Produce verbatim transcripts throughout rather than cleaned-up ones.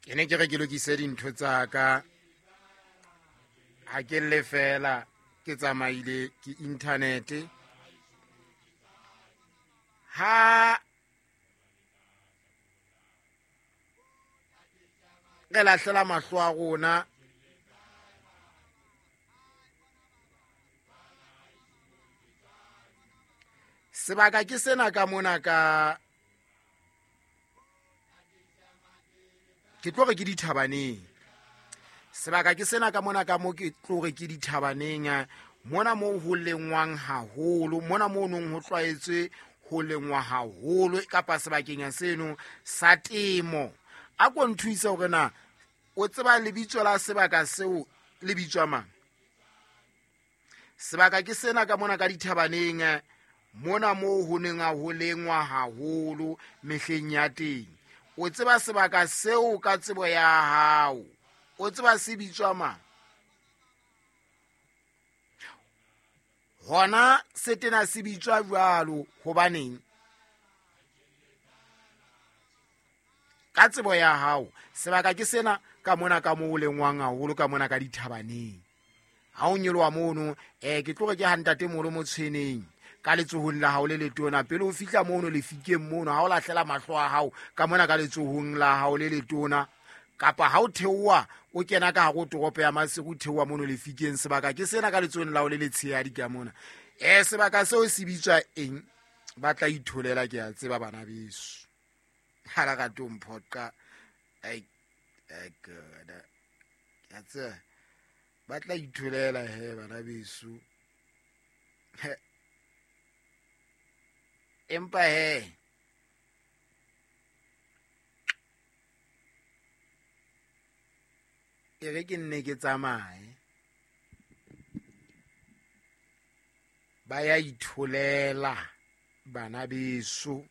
Ke ne ke re ke lokise dintho tsa ka. Ha ke le fela ke tsamaile ke internet. Ha re lahlela mahlo a rona sebaka ke sena ka mona ka ke tlo re ke dithabaneng. Sebaka ke sena ka mona ka mo ke tlo re ke dithabaneng mona mo ho lengwang haholo, mona mo nong ho tlwaetswe ho lengwa haholo kapa sebakeng seno sa temo. A ko nthuise hore na o tseba lebitso la sebaka seo le bitswa mang. Sebaka ke sena ka mona ka dithabaneng mona mo ho neng ho lengwa haholo mehleng ya teng. O tseba sebaka seo ka tsebo ya hao, o tseba se bitswa mang. Hona se tena se bitswa jwalo hobaneng? Ka tsebo ya hao sebaka ke sena ka mona ka mo lengwang haholo ka mona ka dithabaneng. Ha o nyoloha mono eh ke tlo re ke ha ntate molo mo tshweneng ka letsohong la hao le letona pele o fihla mono lefikeng mono ha o lahlela mahlo a hao ka mona ka letsohong la hao le letona kapa ha o theoha o kena ka hare ho toropo ya Maseru theoha mono lefikeng sebaka ke sena ka letsohong la hao le letshehadi ka mona. Eh sebaka seo se bitswa eng? Ba tla itholela ke a tseba bana beso. Ha la rate ho mphoqa. Ai ai God. Ke a tseba ba tla itholela he bana beso. Empa he e re ke nne ke tsamaye. Ba ya itholela bana beso.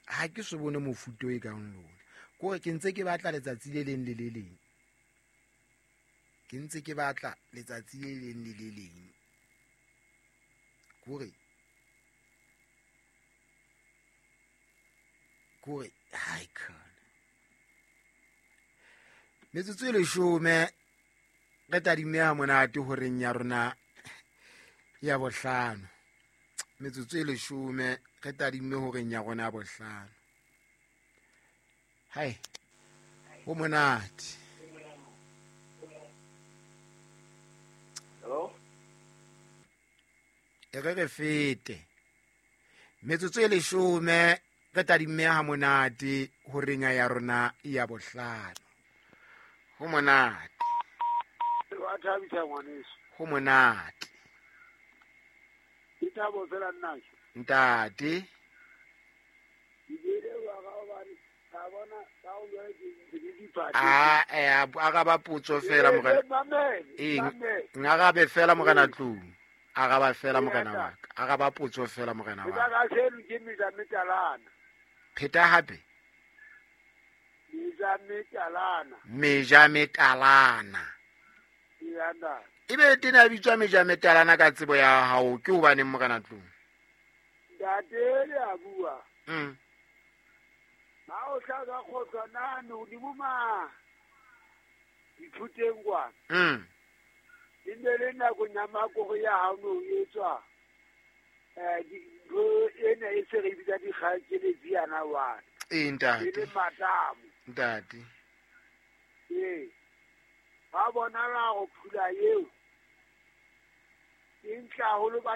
Ha ke so bone mofuta e kang lona. Kore ke ntse ke batla letsatsi le leng le le leng. Ke ntse ke batla letsatsi le leng le le leng. Kore kore hai khona. Metsotso e leshome re tadime ha monate horeng ya rona ya bohlano. Metsotso e leshome re tadime horeng ya rona ya bohlano. Hai ho monate. Hello? E re re fete. Metsotso e leshome re tadime ha monate horeng ya rona ya bohlano. Ho monate. Wa thabisa ngwaneso. Ho monate. Ke thabo fela nna. Ntate. Ah eh araba potso fela morena. Eh ngarabe fela morena tlou. Araba fela morena wa ka. Araba potso fela morena wa ka. Pheta hape. Meja metalana. Ebe tena bitswa meja metalana ka tsebo ya hao ke hobaneng morena tlou? Ntate le a bua. Mm. Ha o tla ka kgotsa nane hodimo ma dithuteng kwa. Mm. E ne le nako ya makoro ya hao no etswa. Eh dintho ena e se re bitsa dikgakeletsi yana wa. Eh ntate. E le matamo. Ntate. Eh. Ba bona la go phula eo. E ntla haholo ba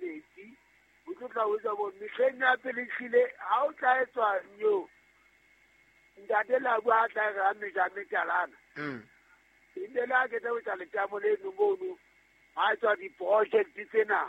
metsi. O tlo tla o bo mehleng ya pele hlile ha o tla etswa nyo. Ntate la bua tla ra meja metalana. Mm. E ne la ke tla o tla letamo le no mono. Ha tswa di project tsena.